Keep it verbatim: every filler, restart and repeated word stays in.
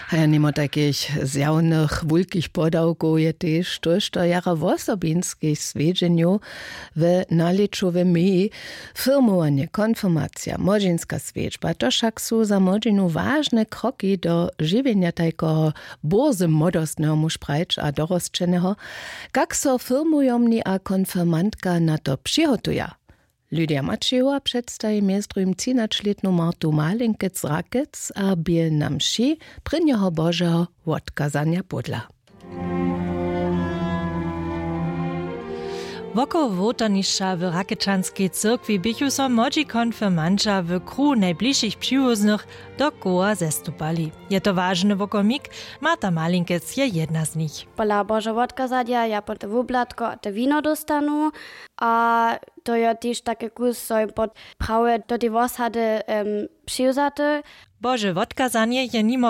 A ja nimo takich zjawnych wulkich podawkow je tež tójšto jara wosobinskich swjedźenjow w nalěćowej meji. Firmowanje, konfirmacija, młodźinska swjedźba, to wšak su za młodźinu wažne kroki do žiwjenja tajkeho bórze młodostneho, muž prajć, a dorosćeneho. Kak so firmujomni a konfirmantka na to přihotuja? Lydia Maćejowa předstaji mjez druhim třinaćlětnu Martu Malinkec z Rakec a bě na mši prěnjeho Božeho wotkazanja pódla. Wokoło wołtarnišća w Rakečanskej cyrkwi běchu so młodźi konfirmanća w kruhu najbližšich přiwóznych do koła zestupali. Je to wažny wokomik. Marta Malinkec je jedna z nich. Pola Božo wotkazadja ja pod wublatko te wino dóstanu. A to jo tež take kus so jim pod prawje do tej wosady přiwzaty. Bože wotkazanje je nimo